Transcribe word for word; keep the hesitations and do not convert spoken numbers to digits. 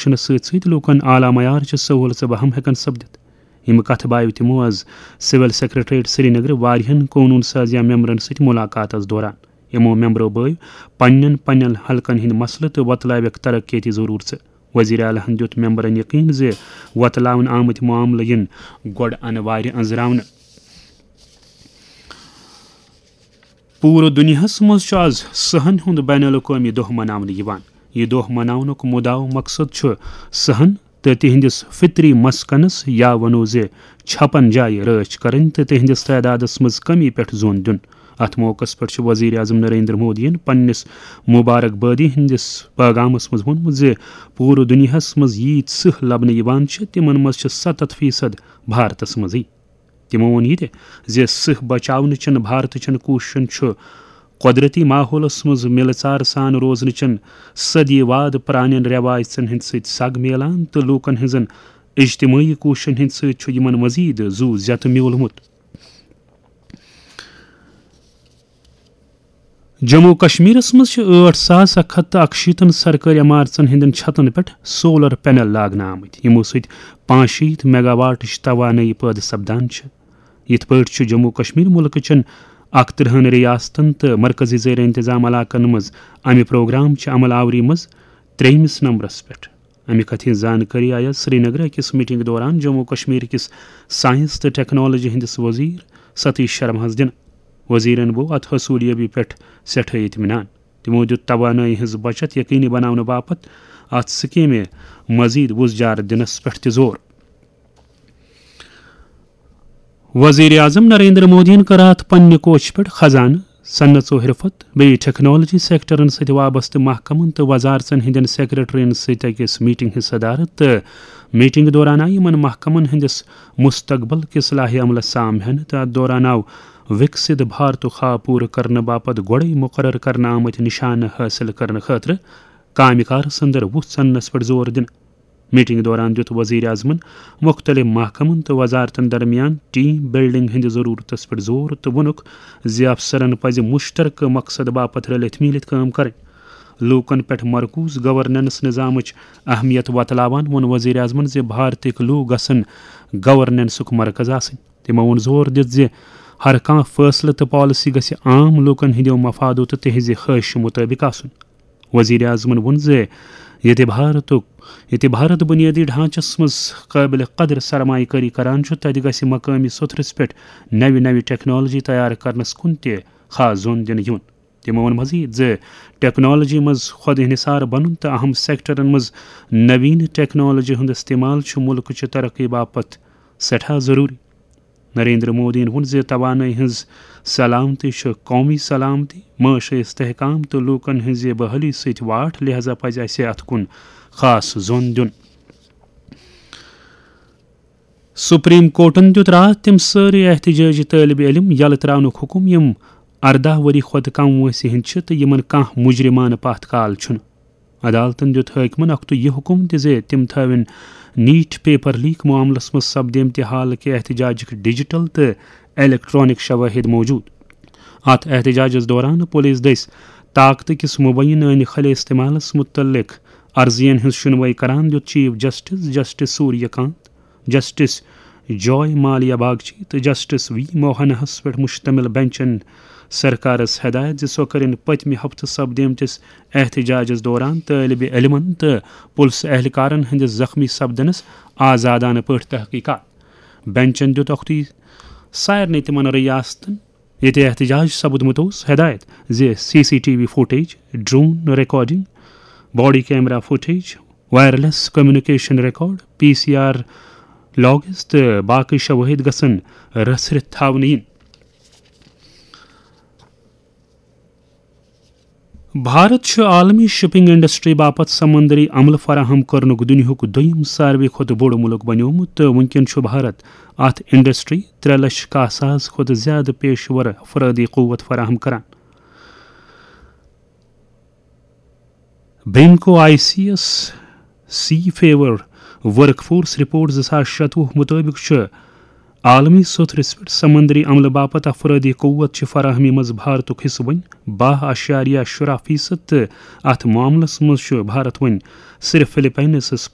کرنس سۭتۍ سۭتۍ لوٗکن اعلیٰ معیارچہِ سہوٗلژٕ بہم ہٮ۪کن سپدِتھ۔ یِم کتھٕ بایو تِمو از سول سیکرٹریٹ سرینگرٕ واریاہن قونوٗن سازیہ ممبرن سۭتۍ مُلاقاتس دوران۔ یِمو ممبرو بٲوۍ پننٮ۪ن پننٮ۪ن حلقن ہٕنٛدۍ مسلہٕ تہٕ وۄتلٲوکھ ترقیتی ضروٗرژٕ۔ وزیر اعلیٰ ہن دیُت ممبرن یقین زِ وۄتلاونہٕ آمٕتۍ معاملہٕ یِن گۄڈٕ انہٕ وارِ أنٛزراونہٕ۔ پوٗرٕ دُنیاہس منٛز چھُ از صحن ہُنٛد بین الاقوٲمی دۄہ مناونہٕ یِوان۔ یہِ دۄہ مناونُک مُدعا و مقصد چھُ صحن تہٕ تِہنٛدِس فطری مسکنس، یا ونو زِ چھپن جایہِ، رٲچھ کرٕنۍ تہٕ تِہنٛدِس تعدادس منٛز کمی پٮ۪ٹھ زون دیُن۔ اتھ موقعس پٮ۪ٹھ چھُ وزیر اعظم نریندر مودیَن پننِس مبارک بٲدی ہٕنٛدِس پیغامس منٛز ووٚنمُت زِ پوٗرٕ دُنیاہس منٛز ییٖتۍ سٕہہ لبنہٕ یِوان چھِ، تِمن منٛز چھِ ستتھ فیصد بھارتس منٛزٕے۔ تِمو ووٚن یہِ تہِ زِ سٕہہ بچاونہٕ چٮ۪ن بھارتہٕ چٮ۪ن کوٗششن چھُ قۄدرتی ماحولس منٛز مِلہٕ ژار سان روزنہٕ چٮ۪ن صدی واد پرٛانٮ۪ن رٮ۪وایژن ہٕنٛدۍ سۭتۍ سگ میلان تہٕ لوٗکن ہٕنٛزن اجتمٲعی کوٗششن ہٕنٛدۍ سۭتۍ چھُ یِمن مزید زُو زیتہٕ میوٗلمُت۔ جموں و کشمیرس منٛز چھِ ٲٹھ ساس اکھ ہتھ تہٕ اکشیٖتن سرکٲرۍ عمارژن ہٕنٛدٮ۪ن چھتن پٮ۪ٹھ سولر پینل لاگنہٕ آمٕتۍ، یِمو سۭتۍ پانٛژشیٖتھ میگا واٹٕچ توانٲیی پٲدٕ سپدان چھِ۔ یِتھ پٲٹھۍ چھُ جموں و کشمیر مُلکہٕ چٮ۪ن اکترٕہن ریاستن تہٕ مرکزی زیر انتظام علاقن منٛز امہِ پروگرام چہِ عمل آوری منٛز ترٛیٚیمِس نمبرس پٮ۪ٹھ۔ امہِ کتھِ ہٕنٛز زانکٲری آیہِ سرینگرٕ أکِس میٹنگ دوران جموں و کشمیر کِس ساینس تہٕ ٹیکنالوجی ہٕنٛدِس وزیر ستیش شرماہس دِنہٕ۔ وزیرن بوو اتھ حصولیٲبی پٮ۪ٹھ سٮ۪ٹھاہ اطمینان۔ تِمو دیُت توانٲیی ہٕنٛز بچت یقینی بناونہٕ باپتھ اتھ سکیمہِ مزید وُژھ جار دِنس پٮ۪ٹھ تہِ زور۔ وزیر اعظم نریندر مودیَن کٔر اتھ پننہِ کوچہِ پٮ۪ٹھ خزانہٕ، صنعت و حرفت، بیٚیہِ ٹیکنالوجی سیکٹرن سۭتۍ وابستہٕ محکمن تہٕ وزارژن ہٕنٛدٮ۪ن سیکرٹرین سۭتۍ أکِس میٹنگ ہٕنٛز صدارت تہٕ میٹنگ دوران آیہِ یِمن محکمن ہٕنٛدِس مستقبل کِس لائحہ عملس سام ہٮ۪نہٕ تہٕ اتھ دوران آو وِکسِت بھارتُک خواب پوٗرٕ کرنہٕ باپتھ گۄڈَے مُقرر کرنہٕ آمٕتۍ نِشانہٕ حٲصِل کرنہٕ خٲطرٕ کامہِ کارس اندر وُژھ ژننس پٮ۪ٹھ زور دِنہٕ۔ میٹنگ دوران دِیُت وزیر اعظمن مُختٔلِف محکمن تہٕ وزارتن درمیان ٹیم بلڈنگ ہٕنٛدِ ضرورتس پٮ۪ٹھ زور تہٕ ووٚنُکھ زِ افسرن پزِ مشترکہٕ مقصد باپتھ رلِتھ میٖلِتھ کٲم کرٕنۍ۔ لوٗکن پٮ۪ٹھ مرکوز گورننس نظامٕچ اہمیت وۄتلاوان ووٚن وزیر اعظمن زِ بھارتٕکۍ لوٗکھ گژھن گورننسُک مرکز آسٕنۍ۔ تِمو ووٚن زور دِتھ زِ ہر کانٛہہ فٲصلہٕ تہٕ پالیسی گژھِ عام لوٗکن ہٕنٛدیو مفادو تہٕ تِہنٛزِ خٲہشہِ مُطٲبِق آسُن۔ وزیر اعظمن ووٚن زِ ییٚتہِ بھارتُک، ییٚتہِ بھارت بُنیٲدی ڈھانچس منٛز قٲبلِ قدر سرمایہ کٲری کران چھُ، تتہِ گژھِ مقٲمی سوٚتھرِس پٮ۪ٹھ نوِ نوِ ٹیکنالوجی تیار کرنس کُن تہِ خاص زون دِنہٕ یُن۔ تِمو ووٚن مزید زِ ٹیکنالوجی منٛز خود انحصار بنُن تہٕ اہم سیکٹرن منٛز نوین ٹیکنالوجی ہُنٛد استعمال چھُ مُلکٕچہِ ترقی باپتھ سٮ۪ٹھاہ ضروٗری۔ نریندر مودیَن ووٚن زِ توانٲیی ہٕنٛز سلامتی چھِ قومی سلامتی، معاشی استحکام تہٕ لوٗکن ہٕنٛزِ بحٲلی سۭتۍ واٹھ، لہذا پزِ اسہِ اتھ کُن خاص زون دیُن۔ سپریم کورٹن دیُت راتھ تِم سٲری احتجاجی طٲلب علم یلہٕ تراونُک حکم، یِم ارداہ ؤری کھۄتہٕ کم وٲنٛسہِ ہٕنٛدۍ چھِ تہٕ یِمن کانٛہہ مجرمانہٕ پتھ کال چھُنہٕ۔ عدالتن دیُت حٲکمن اکھتُے یہِ حکم تہِ زِ تِم تھٲوِن نیٖٹ پیپر لیک معاملس منٛز سپدیمتہِ حالہٕ کہِ احتجاجٕکۍ ڈیجیٹل تہٕ الیکٹرانک شوٲہِد موجود۔ اتھ احتجاجس دوران پولیس دٔسۍ طاقتہٕ کِس مبینہٕ عنخلہِ استعمالس متعلق عرضین ہٕنٛز شنوٲیی کران دیُت چیف جسٹس جسٹس سوریہ کانت، جسٹس جوائے مالیا باگچی تہٕ جسٹس وی موہناہس پٮ۪ٹھ مشتمل بینچن سرکارس ہدایت زِ سۄ کٔرِن پٔتمہِ ہفتہٕ سپدیمتِس احتجاجس دوران طٲلب علمن تہٕ پُلسہٕ اہلکارن ہٕنٛدِس زخمی سپدنس آزادانہٕ پٲٹھۍ تحقیقات۔ بینچن دیُت اکھتُے سارنٕے تِمن ریاستن، ییٚتہِ احتجاج سپُدمُت اوس، ہدایت زِ C C T V footage, drone recording, body camera footage, wireless communication record, P C R logs تہٕ باقی شوٲہِد گژھن رژھرِتھ تھاونہٕ یِنۍ۔ بھارت چھُ عالمی شپنگ انڈسٹری باپتھ سمندری عملہٕ فراہم کرنُک دُنیاہُک دوٚیِم ساروی کھۄتہٕ بوٚڑ مُلک بنیومُت تہٕ وُنکٮ۪ن چھُ بھارت اتھ انڈسٹری ترٛےٚ لچھ کاہ ساس کھۄتہٕ زیادٕ پیشور افرٲدی قوت فراہم کران۔ بینکو I C S C future work force report زٕ ساس شتوُہ مُطٲبِق چھُ عالمی سوٚتھرِس پٮ۪ٹھ سمندری عملہٕ باپتھ افرٲدی قوت چہِ فراہمی منٛز بھارتُک حصہٕ وۄنۍ باہ اعشاریہ شُراہ فیصد تہٕ اتھ معاملس منٛز چھُ بھارت وۄنۍ صرف فلپائنس